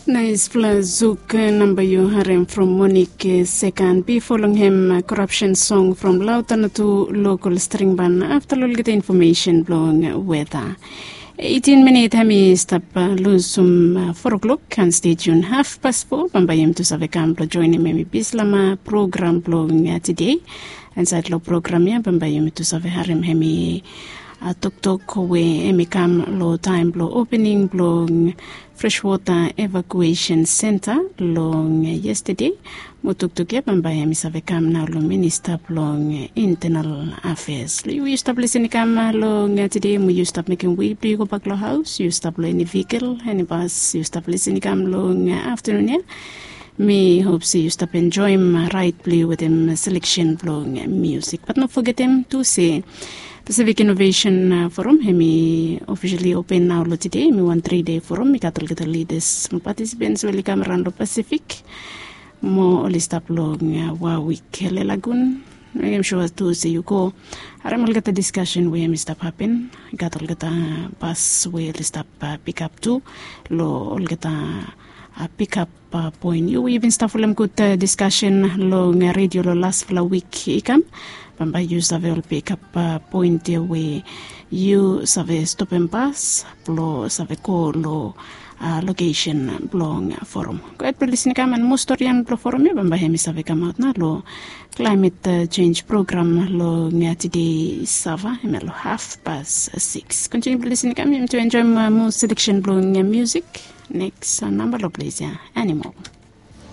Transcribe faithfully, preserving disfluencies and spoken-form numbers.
Naispela zuk namba yu harem from Monik Sekan, bifo long hem korapsen song from Lautanatu lokal string ban. Afta long olgeta infomesen blong weta, eitin minit hem i stap lusum fo o'klok. Kan stay tune haf pas fo, bambae yumi tu save kam blong joinim hem i bislama program blong tide. Insaed long program ya bambae yumi tu save harem hem i toktok we hem i kam long taem blong opening blong Freshwater Evacuation Center long yestede. Mo toktok ya bambae hem i save kam nao long Minista blong Internal Affairs. Long yu we yu stap lisin i kam long tide, mo yu stap mekem we blong yu gobak long haos, yu stap long eni vehikel, eni bas, yu stap lisin i kam long aftanun ya, mi hop se yu stap enjoem raed blong yu wetem seleksen blong musik. Bat no fogetem tu se Pacific Innovation Forum hem i ofisali open nao long tide. Hem i wan tri dei forum. I gat olgeta lidas mo patisipens we oli kam araon long Pasifik, mo oli stap long Warwick, Lelagun. Mekem sua tu se yu go harem olgeta diskasen we hem i stap hapen. I gat olgeta bas we oli stap pikap tu long olgeta pikap poen. Yu we yu bin stap folem gud diskasen long redio long lasfala wik i kam, bambae yu save ol pikap poen ya we yu save stopem bas blong save go long lokesen blong forum. Gohed blong lisin i kam, and mo storian blong forum ya bambae hem i save kamaot nao long Climate Change Program long tide Sava, hemia long haf pas siks. Kontiniu blong lisin i kam, yumi tu enjoem mo seleksen blong musik. Neks namba long ples ya, Animal.